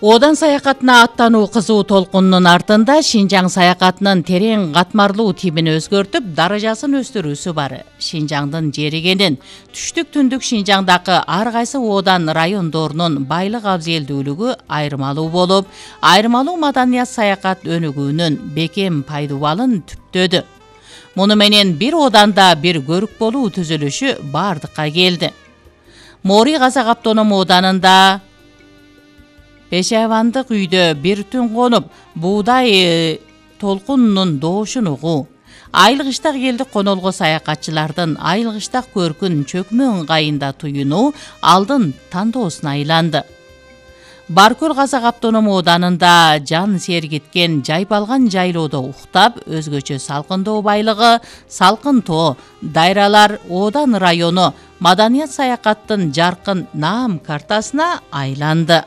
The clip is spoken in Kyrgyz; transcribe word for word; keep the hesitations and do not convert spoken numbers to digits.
Одан саякатына аттануу кызуу толкунунун артында Шинжаң саякатынын терең катмарлуу тибин өзгөртүп, даражасын өстүрүүсү бар. Шинжаңдын жеригенин түштүк түндүк Шинжаңдагы ар кайсы Одан райондорунун байлык абзелдүүлүгү айырмалуу болуп, айырмалуу маданият саякат өнүгүүнүн бекем пайдубалын түптөдү. Муну менен бир Оданда бир көрүк болуу түзүлүшү бардыкка келди. Мори казак автоному Оданында Пешайвандык үйдө бир түн конуп, буудай толкунунун доошун угуу. Айылгыштак элдик конолго саякатчылардын айылгыштак көркүн чөкмө ыңгайында туюнуу алдын тандоосуна айланды. Баркөл казак автоному Оданында жан сергиткен жайпалган жайлоодо уктап, өзгөчө салкындоо байлыгы, салкын тоо, дайралар Одан району маданият саякаттын жаркын наам картасына айланды.